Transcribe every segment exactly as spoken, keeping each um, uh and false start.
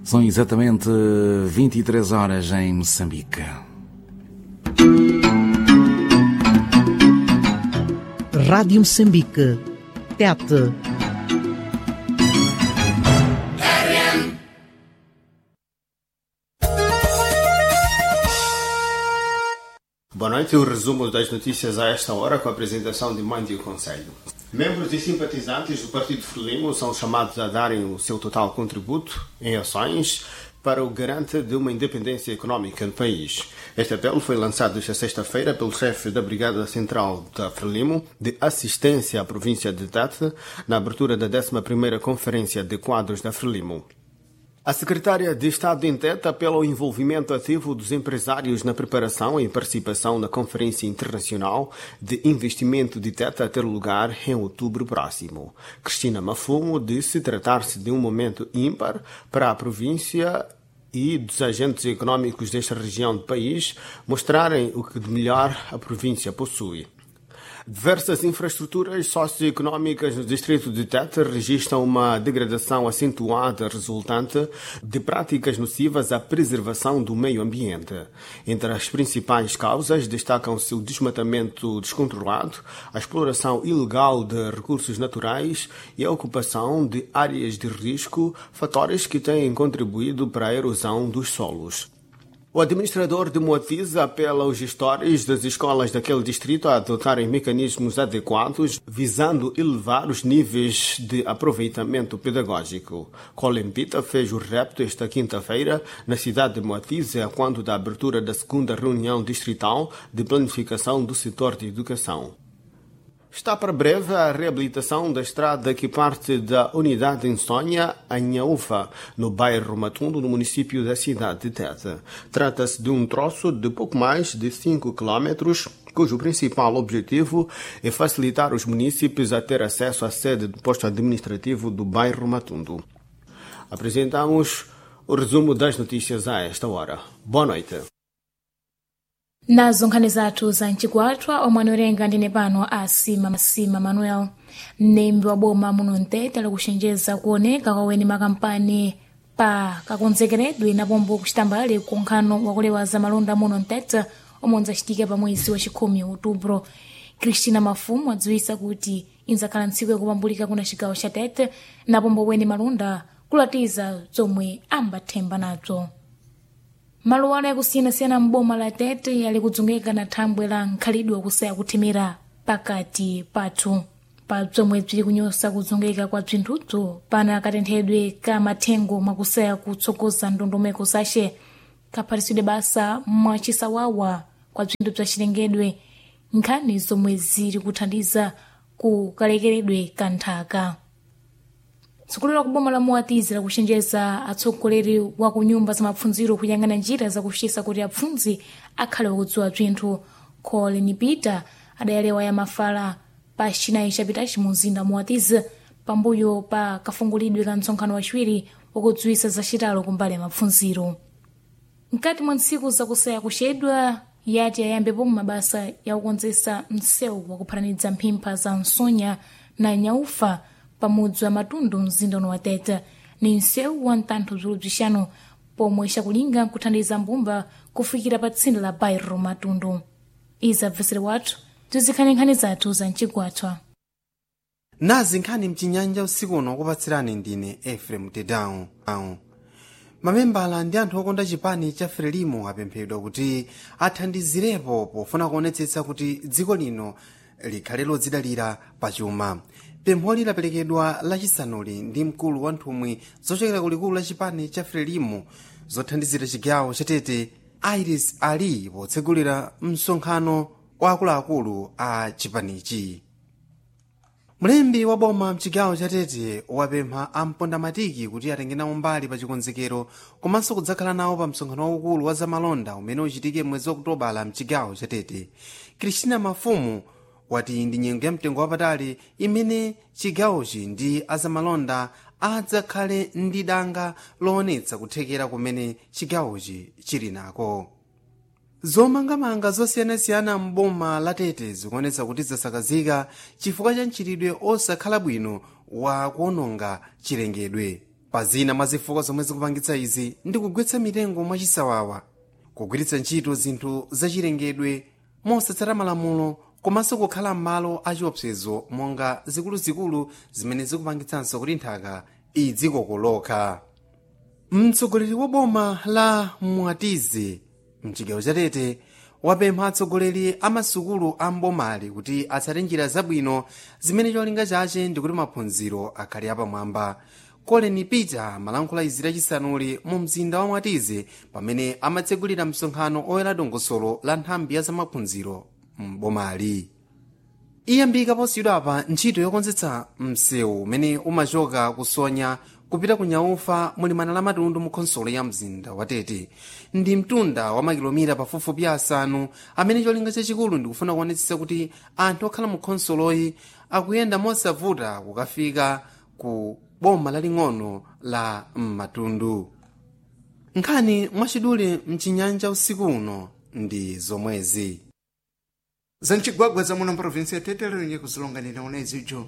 São exatamente vinte e três horas em Moçambique. Rádio Moçambique. Tete. Boa noite, o resumo das notícias a esta hora com a apresentação de Mandio Conselho. Membros e simpatizantes do Partido Frelimo são chamados a darem o seu total contributo em ações para o garante de uma independência económica no país. Este apelo foi lançado esta sexta-feira pelo chefe da Brigada Central da Frelimo de Assistência à província de Tete, na abertura da décima primeira Conferência de Quadros da Frelimo. A secretária de Estado em Tete apela ao envolvimento ativo dos empresários na preparação e participação na Conferência Internacional de Investimento de Tete a ter lugar em outubro próximo. Cristina Mafumo disse tratar-se de um momento ímpar para a província e dos agentes econômicos desta região do país mostrarem o que de melhor a província possui. Diversas infraestruturas socioeconómicas no distrito de Tete registram uma degradação acentuada resultante de práticas nocivas à preservação do meio ambiente. Entre as principais causas destacam-se o desmatamento descontrolado, a exploração ilegal de recursos naturais e a ocupação de áreas de risco, fatores que têm contribuído para a erosão dos solos. O administrador de Moatize apela aos gestores das escolas daquele distrito a adotarem mecanismos adequados visando elevar os níveis de aproveitamento pedagógico. Colin Pita fez o repto esta quinta-feira na cidade de Moatize, quando da abertura da segunda reunião distrital de planificação do setor de educação. Está para breve a reabilitação da estrada que parte da unidade em Sonha a Inhaúfa, no bairro Matundo, no município da cidade de Tete. Trata-se de um troço de pouco mais de cinco quilômetros, cujo principal objetivo é facilitar os munícipes a ter acesso à sede do posto administrativo do bairro Matundo. Apresentamos o resumo das notícias a esta hora. Boa noite. Nazo nkhani zathu za mchikwatwa omwe anowerenga ndine pano a Sima Sima Manuel. Mnembi wa boma muno Mtete ali kuchenjeza kuoneka kwa weni makampani pa kakonzekeredwe napombo kuchitambale kunkhano wakulewa za malonda muno Mtete omwe unzachitika pa mwezi wa chikhumi outubro. Cristina Mafumu adziwisa kuti inzakhala ntsiku yakupambulika kuna chigawo cha Tete napombo weni malonda kulatiza zomwe ambathemba nazo. Maluwana yakusiyanasiyana m'boma la Tete yali kudzungika na thambwe la nkhalidwe wakusaya kuthimira pakati pathu pa bzomwe bzili kunyosa kudzungika kwa bzinthudzo pana katenthedwe ka mathengo mwakusaya kutsogoza ndondomeko zace kaphatisidwe basa mwachisawawa kwa bzinthu bza chilengedwe, nkhani zomwe zili kuthandiza ku kalekeredwe ka nthaka. Tsogoleri wa kuboma la Moatize lakuchenjeza atsogoleri wa ku nyumba za mapfundziro kuyang'ana njira zakuchitisa kuti apfundzi akhale wakudziwa bzinthu. Colin Peter adayalewa ya mafala pa chinayi chapitachi mu mzinda Moatize pambuyo pa kafungulidwe ka msonkhano wachiwiri wakudziwisa zacitalo kumbali ya mapfundziro. Mkati mwa ntsiku zakusaya kuchedwa yati ayambepo mabasa yakukonzesa msewu wakuphatanidza mphimpha za Nsonya na Nyaufa pamudzi wa Matundu mzinda uno wa Tete. Ni msewu wa mtantho bzulu bzixanu pomwe xakulinga nkuthandiza mbumba kufikira pa tsinde la bairro Matundu. Izi abvesere wathu tizikhani nkhani zathu za mchigwathwa. Nazi nkhani mchinyanja usiku uno kupatsirani ndine Efrem Tedown. Mamembala ndi anthu okonda chipani cha Frelimo apemphedwa kuti athandizirepo pofuna kuonetsetsa kuti dziko lino likhale lodzidalira pachuma. Pempholi laperekedwa lachisanuli ndi mkulu wa nthumwi zochokera kulikulu la chipani cha Frelimo zothandizira chigawo cha Tete, Iris Ali, potsegulira msonkhano wa akuluakulu a chipanichi. Mlembi wa boma mchigawo cha Tete wapempha ampondamatiki kuti atenge nawo mbali pa chikonzekero komanso kudzakhala nawo pa msonkhano waukulu wa zamalonda umene uchitike mwezi okutobala mchigawo cha Tete. Cristina Mafumu wati ndi nyengo ya mtengo wapatali imene chigawochi ndi azamalonda adzakhale ndi danga loonetsa kuthekera kumene chigawochi chili nako. Zomangamanga zosiyanasiyana m'boma la Tete zikuonetsa kuti zasakazika chifukwa cha mchitidwe osakhala bwino wa kuononga chilengedwe. Pa zina mwa zifukwa zomwe zikupangitsa izi ndi kugwetsa mitengo mwachisawawa, kugwiritsa ntchito zinthu zachilengedwe mosatsata malamulo, komanso kukhala m'malo achiopsezo monga zikuluzikulu zimene zikupangitsanso kuti nthaka idzikokoloka. Mtsogoleri wa boma la Mwatizi mchigawo cha Tete wapempha atsogoleri a masukulu a mbomali kuti atsate njira zabwino zimene cholinga chache ndikuti maphunziro akhale apamwamba. Colin Peter malankhula izi lachisanuli mu mzinda wa Mwatizi pamene amatsegulira msonkhano oyera dongosolo la nthambi ya zamaphunziro mbomali. Iyambika posiyidwapa ntchito yokonzetsa msewu umene umachoka kusonya kupita ku Nyaufa mulimana la Matundu mu khonsolo ya mzinda wa Tete. Ndi mtunda wa makilomita pafupifupi asanu amene cholinga chachikulu ndikufuna kuonetsetsa kuti anthu okhala mu khonsoloyi akuyenda mosavuta kukafika ku boma laling'ono la Matundu. Nkhani mwachidule mchinyanja usiku uno ndi zomwezi. Zamchigwagwa za muno mprovinsi ya Tete lero kuzilonganira unezijo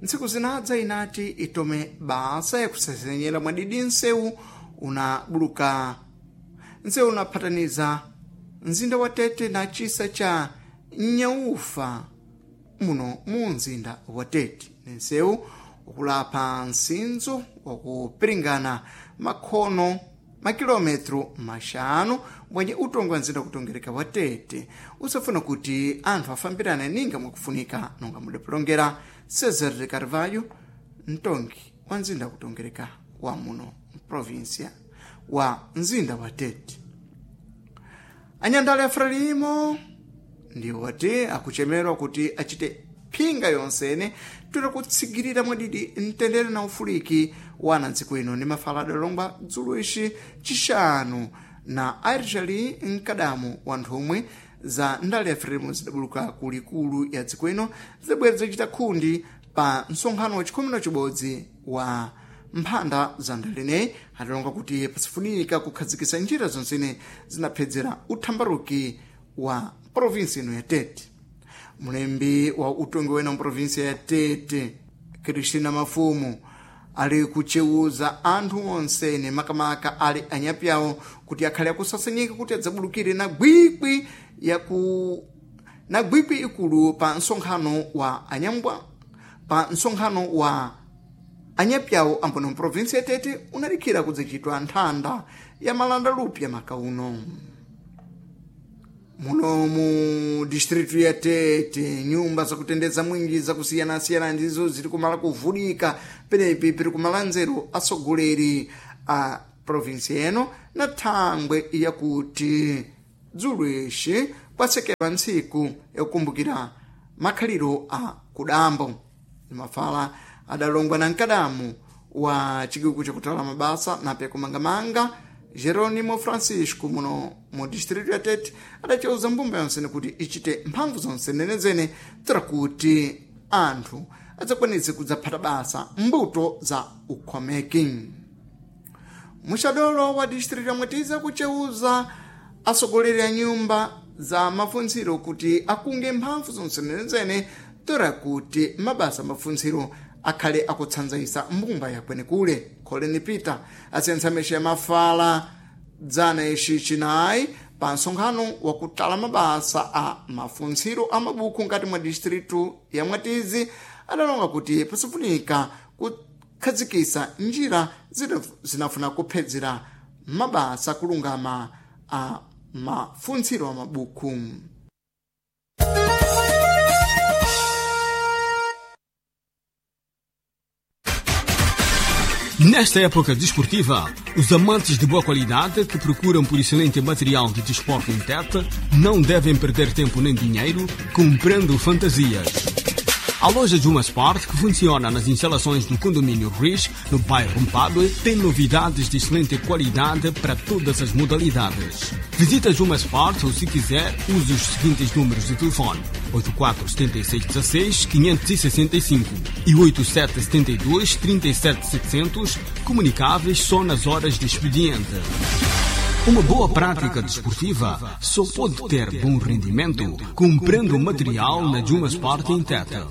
ntsiku zinadza inati itome basa yakusesenyera mwadidi nsewu unabuluka nsewu unaphataniza mzinda wa Tete na chisa cha Nyaufa muno mu mzinda wa Tete. Ni nsewu ukulapha nsinzo wakupiringana makhono makilometro maxanu bwenye utongo wa mzinda kutongereka wa Tete usafuna kuti anthu afambirane ninga mwakufunika nonga mudapilongera. Cesar de Carvalho, mtongi wa mzinda kutongereka wa muno mprovinsia wa mzinda wa Tete. Anyandale a Frelimo ndiwo ati akuchemerwa kuti achite phinga yonsene toera kutsigirira mwadidi mtendere na ufuliki wa anadziko ino ndi mafala adalongwa dzulo ici chixanu na Airjali mkadamu wa nthumwi za ndale ya Frelimo zidabuluka ku likulu ya dziko ino zidabwera zachita khundi pa msonkhano wa chikhumi na chibodzi wa mphanda za ndaleneyi. Adalonga kuti pasifunika kukhazikitsa njira zonsene zinaphedzera uthambaruki wa provinsi ino ya Tete. Mulembi wa utongi wena mprovinsi ya Tete, Cristina Mafumu, ali kuchewuza anthu onsene makamaka ali anyapyawo kuti akhale akusasenyeka kuti adzabulukire na gwikwi yaku na gwikwi ikulu pa msonkhano wa anyambwa pa msonkhano wa anyapyawo ambono mprovinsi ya Tete unalikhira kudzachitwa nthanda ya malanda lupya makauno muno mu distritu ya Tete. Nyumba zakutendeza mwinji zakusiyanasiyana ndizo ziri kumala kuvulika penepi piri kumala nzeru atsogoleri a provinsi eno na thangwe yakuti dzulo ixi kwasekedwa ntsiku yakukumbukira makhaliro a kudambo. Mafala adalongwa na mkadamu wa chiguku chakutala mabasa nape kumangamanga Geronimo Francisco muno mu distritu ya Tete adaceuza mbumba yonsene kuti ichite mphamvu zonse nenezene tsira kuti anthu adzakwanitse kudzaphata basa mbuto za ukhomeki. Muxadolo wa distritu ya Mwatiza kuceuza atsogoleri a nyumba za mafuntsiro kuti akunge mphamvu zonse nenezene tsira kuti mabasa mafuntsiro akhale akutsanzaisa mbumba yakwenekule. Colin Peter asiyantsa ya mafala dzana ici chinayi pa msonkhano wakutala mabasa a mafuntsiro a mabuku ngati mwa distritu ya Mwatizi adalonga kuti pasifunika kukhazikitsa njira zinafuna kuphedzera mabasa kulungama a mafuntsiro a mabuku. Nesta época desportiva, os amantes de boa qualidade que procuram por excelente material de desporto em Tete não devem perder tempo nem dinheiro comprando fantasias. A loja Juma Sport, que funciona nas instalações do condomínio Riz, no bairro Mpadue, tem novidades de excelente qualidade para todas as modalidades. Visita Juma Sport ou, se quiser, use os seguintes números de telefone: oito quatro sete seis um seis, cinco seis cinco e oito sete sete dois, três sete sete zero zero, comunicáveis só nas horas de expediente. Uma boa prática desportiva só pode ter bom rendimento comprando material na Juma Sport em Tete.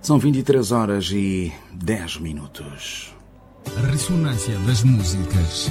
São vinte e três horas e dez minutos. Ressonância das músicas.